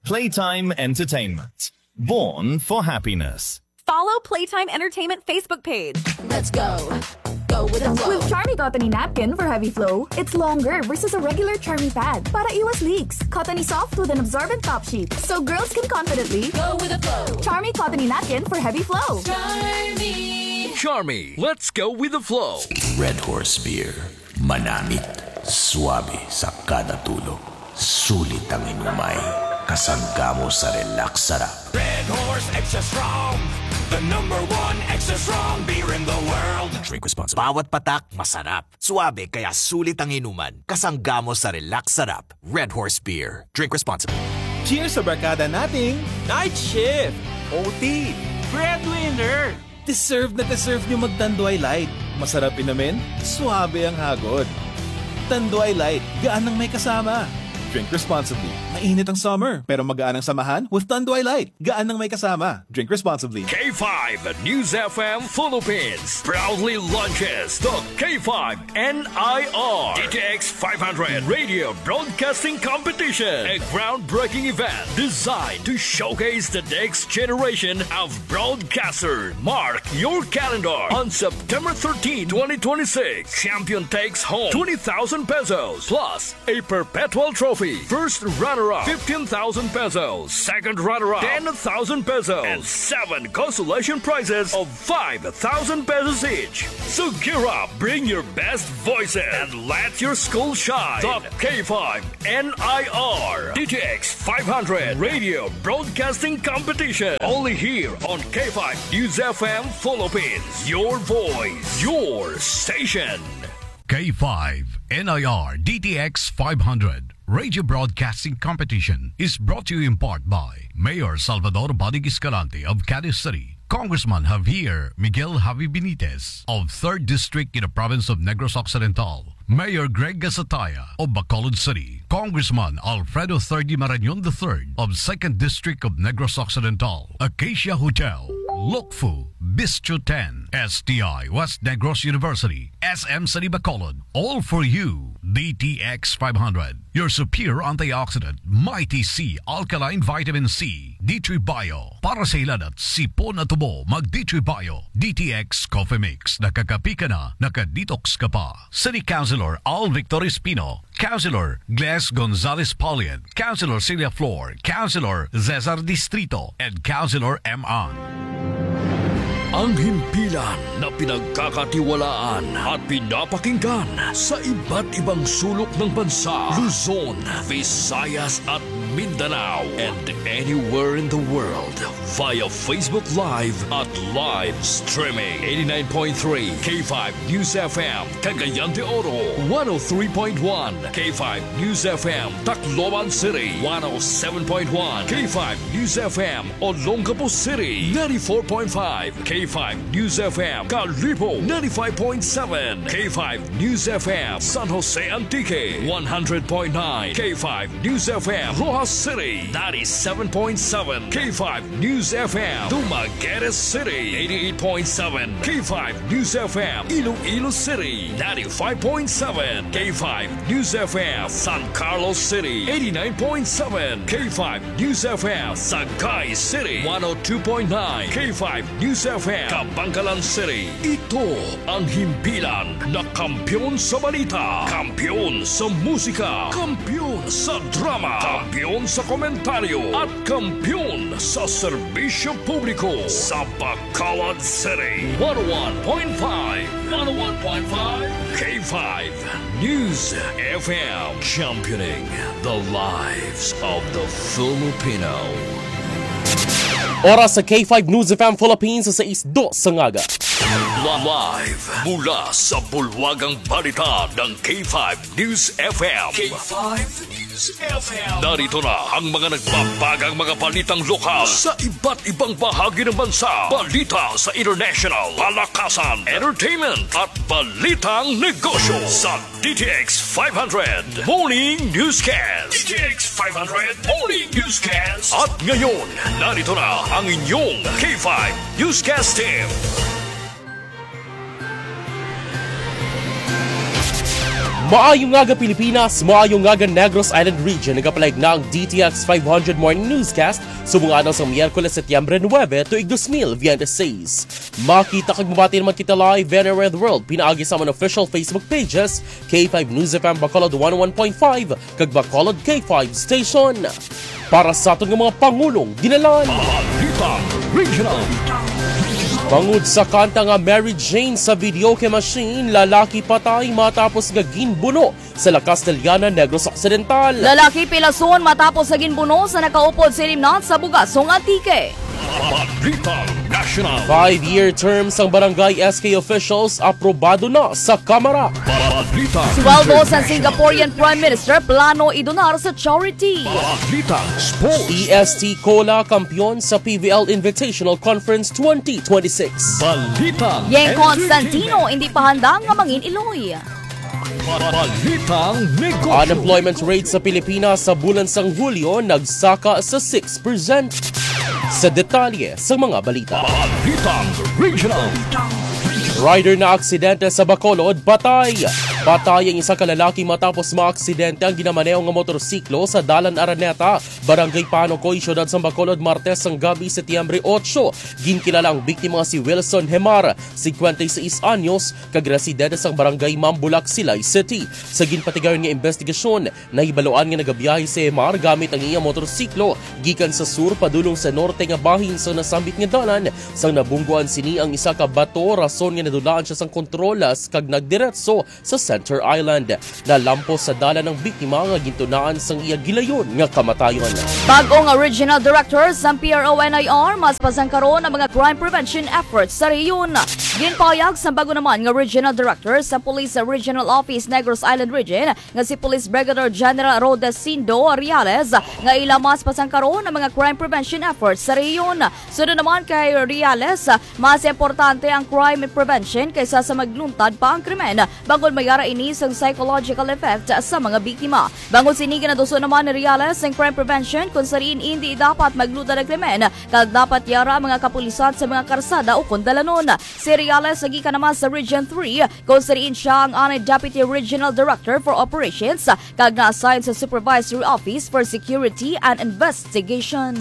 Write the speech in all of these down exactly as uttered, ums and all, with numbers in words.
Playtime Entertainment. Born for happiness. Follow Playtime Entertainment Facebook page. Let's go. Go with the flow. With Charmy Cottony Napkin for heavy flow, it's longer versus a regular Charmy pad para iwas leaks. Cottony soft with an absorbent top sheet, so girls can confidently go with the flow. Charmy Cottony Napkin for heavy flow. Charmy. Charmy, let's go with the flow. Red Horse Beer. Manamit, suabe sa kada tulo. Sulit ang inumay, kasangga mo sa relax sarap. Red Horse Extra Strong, the number one extra strong beer in the world. Drink responsibly. Bawat patak, masarap. Suabe, kaya sulit ang inuman. Kasangga mo sa relax sarap. Red Horse Beer. Drink responsibly. Cheers sa barkada nating night shift, O T, breadwinner. Deserve na deserve nyo mag Tanduay Light. Masarap inumin, suabe ang hagod. Tanduay Light, gaan ang may kasama. Drink responsibly. Mainit ang summer, pero magaan ang samahan with Tanduay Light. Gaan ang may kasama. Drink responsibly. K five News F M Philippines proudly launches the K five N I R D T X five hundred Radio Broadcasting Competition, a groundbreaking event designed to showcase the next generation of broadcasters. Mark your calendar. On September thirteenth, twenty twenty-six, champion takes home twenty thousand pesos plus a perpetual trophy. First runner-up, fifteen thousand pesos. Second runner-up, ten thousand pesos. And seven consolation prizes of five thousand pesos each. So gear up, bring your best voices, and let your school shine. The K five N I R D T X five hundred Radio Broadcasting Competition. Only here on K five News F M Philippines. Your voice, your station. K five N I R D T X five hundred Radio Broadcasting Competition is brought to you in part by Mayor Salvador Badig Escalante of Cadiz City, Congressman Javier Miguel Javi Benitez of third District in the province of Negros Occidental, Mayor Greg Gasataya of Bacolod City, Congressman Alfredo Thirdy Marañon the third of second District of Negros Occidental, Acacia Hotel, Lokfu, Bistro ten, S T I West Negros University, S M City Bacolod, all for you. D T X five hundred, your superior antioxidant, Mighty C alkaline vitamin C, D three Bio. Para sa hilanat, sipon at tubo, mag D three Bio. D T X Coffee Mix, nakakapi ka na, naka-detox ka pa. City Councilor Al Victor Espino, Councilor Gles Gonzalez Paulian, Councilor Celia Flor, Councilor Cesar Distrito, and Councilor M. Ang. Ang himpilan na pinagkakatiwalaan at pinapakinggan sa iba't ibang sulok ng bansa, Luzon, Visayas, at Mindanao, and anywhere in the world via Facebook Live at live streaming. Eighty-nine point three K five News F M, Cagayan de Oro, one oh three point one K five News F M, Tacloban City, one oh seven point one K five News F M, Olongapo City, ninety-four point five K five News F M, Kalibo, ninety-five point seven K five News F M, San Jose Antique, one hundred point nine K five News F M, Roxas City, ninety-seven point seven K five News F M, Dumaguete City, eighty-eight point seven K five News F M, Iloilo City, ninety-five point seven K five News F M, San Carlos City, eighty-nine point seven K five News F M, Sagay City, one oh two point nine K five News F M, Kabankalan City. Ito ang himpilan na kampiyon sa balita, kampiyon sa musika, kampiyon sa drama, kampiyon sa komentaryo, at kampiyon sa serbisyo publiko sa Bacolod City. One oh one point five, one oh one point five K five News F M, championing the lives of the Filipino. Oras sa K five News F M Philippines sa sais dos sa aga. Live mula sa bulwagang balita ng K five News F M. K five News F M. Narito na ang mga nagbabagang mga balitang lokal sa iba't ibang bahagi ng bansa. Balita sa international, palakasan, entertainment, at balitang negosyo sa D T X five hundred Morning Newscast. D T X five hundred Morning Newscast. At ngayon, narito na ang inyong K five Newscast Team. Maayong aga, Pilipinas! Maayong aga, Negros Island Region! Nagapalayag na ang D T X five hundred Morning Newscast subong adlaw sang Miyerkules, Setyembre nuebe, tuig dos mil veintiséis. Makita kag mabati naman kita live anywhere in the world pinaagi sa amon official Facebook pages, K five News F M Bacolod one oh one point five, kag Bacolod K five Station. Para sa aton nga mga pangulong ginalan. Balitang Regional. Bangod sa kanta nga Mary Jane sa videoke machine, lalaki patay matapos nga ginbuno sa La Castellana, Negros Occidental. Lalaki pilason matapos nga ginbuno sa nakaupod sa ilimnan sa Bugasong, Antique. Balitang National. Five-year term sang barangay S K officials aprobado na sa Kamara. Balitang Sweldo sa International. Singaporean Prime Minister plano idonar sa charity. Balitang Sports. E S T Cola kampiyon sa P V L Invitational Conference twenty twenty-six. Balitang Yeng Entertainment. Constantino hindi pa handa nga mangin Iloy. Balitang Negosyo. Unemployment rate sa Pilipinas sa bulan sang Hulyo nagsaka sa six percent. Sa detalye sa mga balita. Balitang Regional. Rider na aksidente sa Bacolod, patay. Patay ang isa ka lalaki matapos maaksidente ang ginamaneho nga motorsiklo sa Dalan Araneta, Barangay Panocoy, Siyudad sang Bacolod, Martes sang gabi, Setyembre otso. Ginkilala ang biktima nga si Wilson Hemar, singkwenta y seis anyos, kag residente sang Barangay Mambulak, Silay City. Sa ginpatigayon nga investigasyon, nahibaluan nga nagabiyahe si Hemar gamit ang iya motorsiklo gikan sa sur padulong sa norte nga bahin sang nasambit nga dalan. Sang nabungguan sini ang isa ka bato, rason nga nadulaan siya sang kontrol kag nagdiretso sa Center Island. Nalampos sa dalan ang biktima nga gintunaan sang iya gilayon nga kamatayon. Bag-o nga Regional Director sang P R O N I R, mas pasangkaron ang mga crime prevention efforts sa rehiyon. Ginpahayag sang bag-o naman nga Regional Director sa Police Regional Office Negros Island Region nga si Police Brigadier General Rodesindo Reales nga ila mas pasangkaron ang mga crime prevention efforts sa rehiyon. Sunod naman kay Reales, mas importante ang crime prevention kaysa sa magluntad pa ang krimen, bangod may ara ini sang psychological effect sa mga biktima. Bangod sini, ginaduso naman ni Reales ang crime prevention kung sa diin indi dapat magluntad ang krimen, kag dapat yara ang mga kapulisan sa mga karsada ukon dalanon. Si Reales nagikan naman sa Region three, kung sa diin siya ang anay Deputy Regional Director for Operations, kag na-assign sa Supervisory Office for Security and Investigation.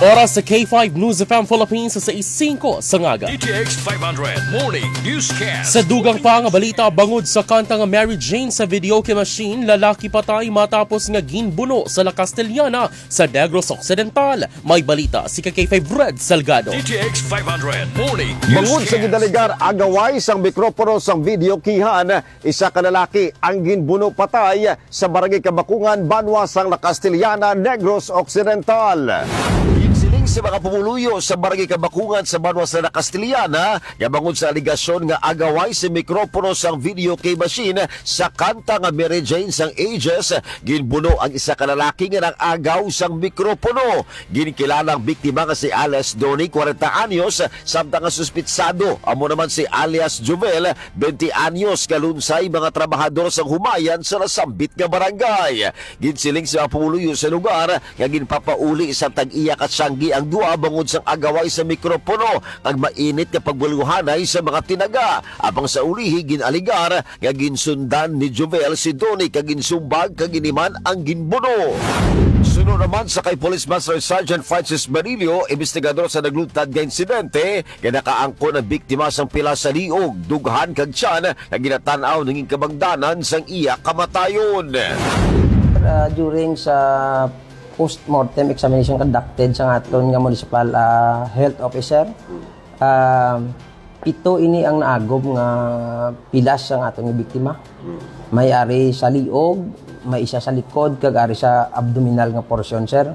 Oras sa K five News F M Philippines sa sais singko sa aga. D T X five hundred Morning Newscast. Sa dugang pa nga balita, bangod sa kanta nga Mary Jane sa videoke machine, lalaki patay matapos nga ginbuno sa La Castellana sa Negros Occidental. May balita si ka K five Red Salgado. D T X five hundred Morning Bangod sa Newscast. Gidaligar agaway sang mikropono sang videokehan, isa ka lalaki ang ginbuno patay sa Barangay Kabakungan, banwa sang La Castellana, Negros Occidental. Ginsiling sa mga pumuluyo sa Barangay Kabakungan sa banwa sa La Castellana nga bangod sa alegasyon nga agaway sa mikropono sang videoke machine sa kanta nga Mary Jane sang Ages, ginbuno ang isa ka lalaki nga nag-agaw sang mikropono. Ginkilala ang biktima nga si alias Donny, kwarenta anyos, samtang ang suspitsado amo naman si alias Jovel, bente anyos, kalunsay mga trabahador sang humayan sa nasambit nga barangay. Ginsiling sa mga pumuluyo sa lugar nga ginpapauli sa tag-iya ka tiyanggi ang duha bangod sang agaway sa mikropono kag mainit nga pagbaluhanay sa mga tinaga. Apang sa ulihi, gin-alegar nga ginsundan ni Jovel si Donny kag ginsumbag kag giniman ang ginbuno. Suno naman sa kay Police Master Sergeant Francis Marillo, investigador sa nagluntad nga insidente, nga nakaangkon ang biktima sang pila sa liog, dughan kag tiyan nga ginatan-aw nangin kabangdanan sang iya kamatayon. Ah, during sa post-mortem examination conducted sa aton nga municipal, ah, health officer, ah, pito ini ang naagom nga pilas sang aton nga biktima. May ari sa liog, may isa sa likod, kag ari sa abdominal nga porsyon, sir.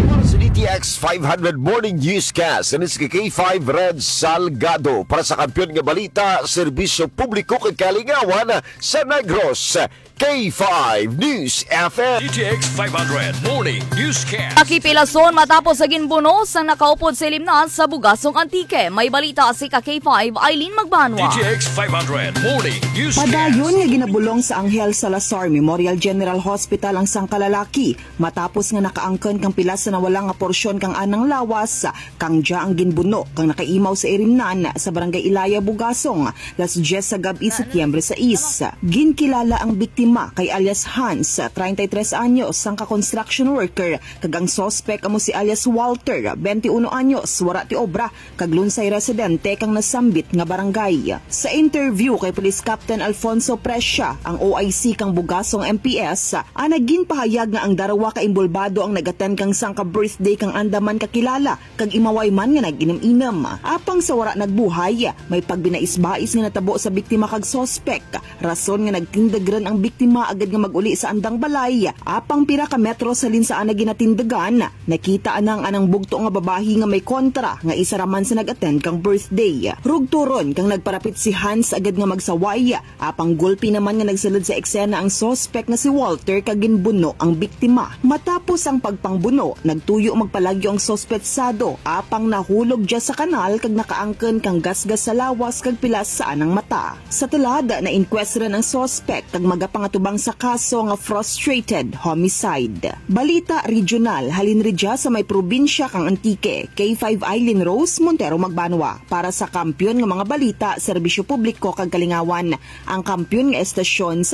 Para sa D T X five hundred Morning Newscast, ini si K five Red Salgado. Para sa Kampiyon nga Balita, Serbisyo Publiko kag Kalingawan sa Negros, K five News F M. D T X five hundred Morning Newscast. Nakipilason matapos sa ginbuno sang nakaupod sa ilimnan sa Bugasong, Antique. May balita si ka K five, Eileen Magbanwa. D T X five hundred Morning Newscast. Padayon nga ginabulong sa Angel Salazar Memorial General Hospital ang sangka lalaki matapos nga nakaangkon kang pila sa nawala nga Syon kang anang lawas, kang dya ang ginbuno kang nakaimaw sa irimnan sa Barangay Ilaya, Bugasong, las dyes sa gab-i, Setyembre sais. Ginkilala ang biktima kay alias Hans, treinta y tres anyos, sangka construction worker, kag ang suspek amo si alias Walter, twenty-one anyos, wara ti obra, kag Lunsay residente kang nasambit nga barangay. Sa interview kay Police Captain Alfonso Prescia, ang O I C kang Bugasong M P S, ana ginpahayag nga ang darwa ka imbulbado ang nag-attend kang sangka birthday kang anda man kakilala kag imaway man nga nag-inom-inom. Apang sa wara nagbuhay, may pagbinais-bais nga natabo sa biktima kag suspek, rason nga nagtindog run ang biktima agud nga mag-uli sa andang balay. Apang pira ka metro halin sa ana ginatindugan, nakita ana ang anang bugto nga babayi nga may kontra nga isa ra man sa nag-attend kang birthday. Rugto run kang nagparapit si Hans agud nga magsaway, apang gulpi naman nga nagsulod sa eksena ang suspek nga si Walter kag ginbuno ang biktima. Matapos ang pagpangbuno, nagtuyo magpalagyo ang suspetsado, apang nahulog dya sa kanal kag nakaangkon kang gasgas sa lawas kag pilas sa anang mata. Sa tulad, na-inquest run ang suspek kag magapangatubang sa kaso nga frustrated homicide. Balita regional, halin ridya sa may probinsya kang Antique, K five Eileen Rose Montero Magbanwa para sa Kampiyon nga mga balita, serbisyo publiko kag kalingawan, ang kampiyon nga estasyon sa